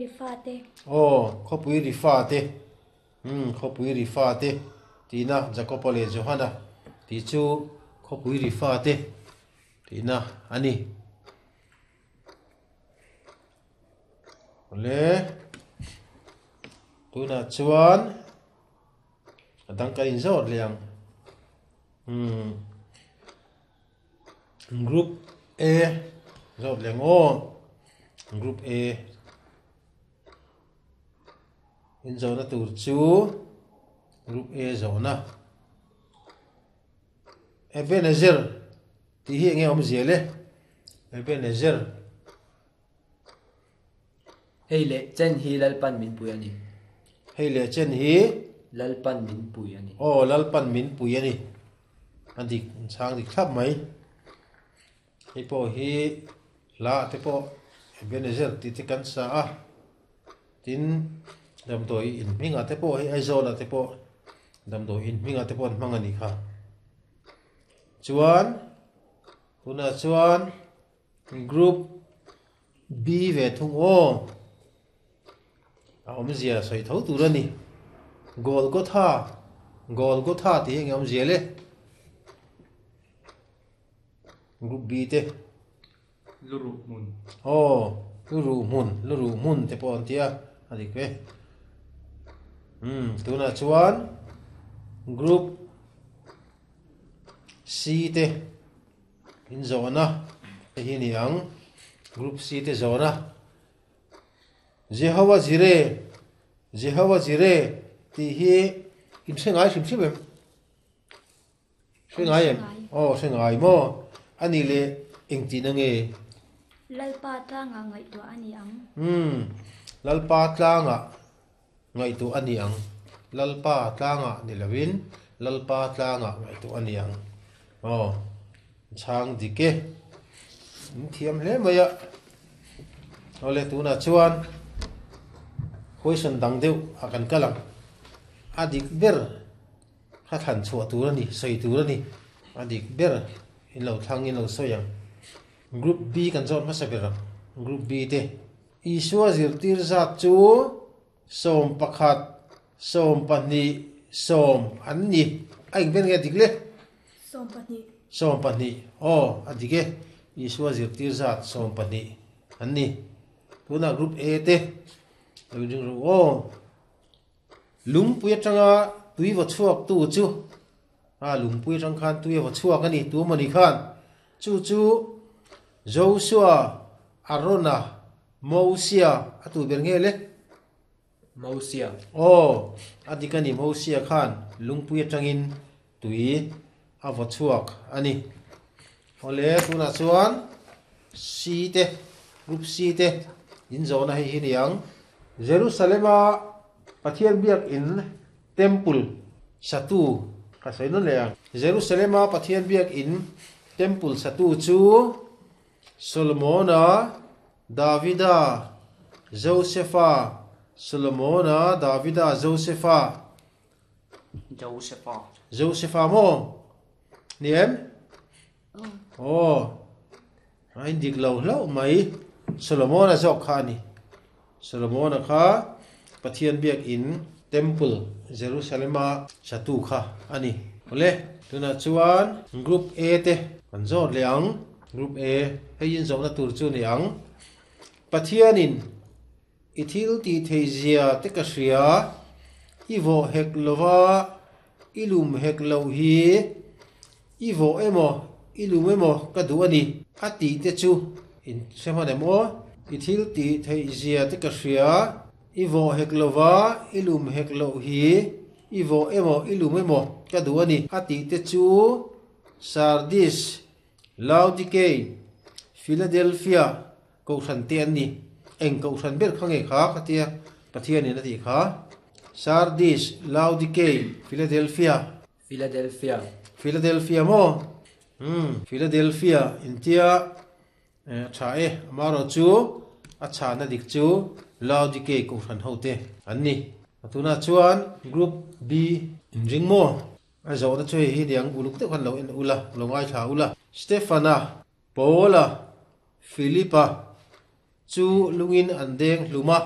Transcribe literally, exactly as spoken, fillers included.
Ri fate. Aw, khawpui ri fate. Umm, khawpui ri fate tihna Jakoba leh Johana tih chu khawpui ri fate tihna a ni. Awle, tunah chuan a dang kan inzawt leh ang. Umm, group A zawt leh ang aw. Group A inzawhna tur chu group A zawhna. Ebenezer tih hi enge awmzia le? Ebenezer. Hei leh chen hi Lalpan min pui a ni. Hei leh chen hi. Lalpan min pui a ni. Aw, Lalpan min pui a ni. A dik, an chhang dik thlap mai. Hei pawh hi hla te pawh Ebenezer tih te kan sa a. Tin, damdawi in hmingah te pawh hei Aizawlah te pawh damdawi in hmingah te pawh an hmang a nih kha. Chuan, tunah chuan group B ve thung aw. A awmzia sawi tho tur a ni. Golgotha, Golgotha tih hi eng nge awmzia le? Group B te. Luruh hmun. Aw, luruh hmun, luruh hmun te pawh an ti a, a dik ve. Umm, tunah chuan Group C te inzawhna te hi a ni ang. Group C te zawhna. Jehovah Jireh, Jehovah Jireh tih hi in hre ngai hrim hrim em? Hre ngai em? Aw, hre ngai maw? A nih leh engtihna nge? Lalpa tlangah ngaihtuah a ni ang. Umm, Lalpa tlangah ngaihtuah a ni ang. Lalpa tlangah ni lovin Lalpa tlangah ngaihtuah a ni ang. Aw, chhang dik e. In thiam hle mai a. Awle, tunah chuan question dang deuh a kan kal ang. A dik ber. Kha thlan chhuah tur a ni, sawi tur a ni. A dik ber in lo thlang in lo sawi ang. Group B kan zawt hmasa ber ang. Group B te. Isua zirtir zat chu sawm pakhat, sawm pahnih, sawm an ni. A eng ber nge a dik le? Sawm pahnih. Sawm pahnih. Aw, a dik e. Isua zirtir zat sawm pahnih an ni. Tunah Group A te lo inring rawh u aw. Lungpui atanga tui va chhuak tu chu a lungpui atang khan tui a va chhuak a ni tu mawni khan chu chu Joshua, Arona, Mosia a tu ber nge le? Mosia. Aw, a dik a ni Mosia khan lungpui atangin tui a va chhuak a ni. Awle tunah chuan C te, Group C te in zawhna hei hi ni ang. Jerusalema Pathian biakinn, Temple, satu ka sawi nawn leh ang. Jerusalema Pathian biakinn, Temple, satu chu Solomona, Davida, Josefa, Solomona, Davida, Josefa. Josefa. Josefa maw? Ni em? Aw. A indik lo hlauh mai. Solomona zawk kha a ni. Solomona kha Pathian biakinn, Temple, Jerusalema satu kha a ni. Awle, tunah chuan Group A te kan zawt leh ang. Group A, hei inzawhna tur chu ni ang. Pathianin i thil tih thei zia te ka hria, i vawh hek lova i lum hek loh hi i vawh emaw i lum emaw ka duh a ni a tih te chu in hre hman em aw? I thil tih theih zia te ka hria, i vawh hek lova i lum hek loh hi i vawh emaw i lum emaw ka duh a ni a tih te chu Sardis, Laodikei, Philadelphia Kohhran te an ni. Eng kohhran ber kha nge kha ka tia Pathianin a tih kha. Sardis, Laodikei, Philadelphia. Philadelphia. Philadelphia maw? Umm, Philadelphia intia a tha e. Amaherawh chu a chhahna dik chu Laodikei kohhran ho te an ni. Tunah chuan Group B inring maw? A zawhna chu hei hi niang uluk deuh khan lo en ula, lo ngaithla ula. Stefana, Paula, Philipa chu lungin an deng hlum a.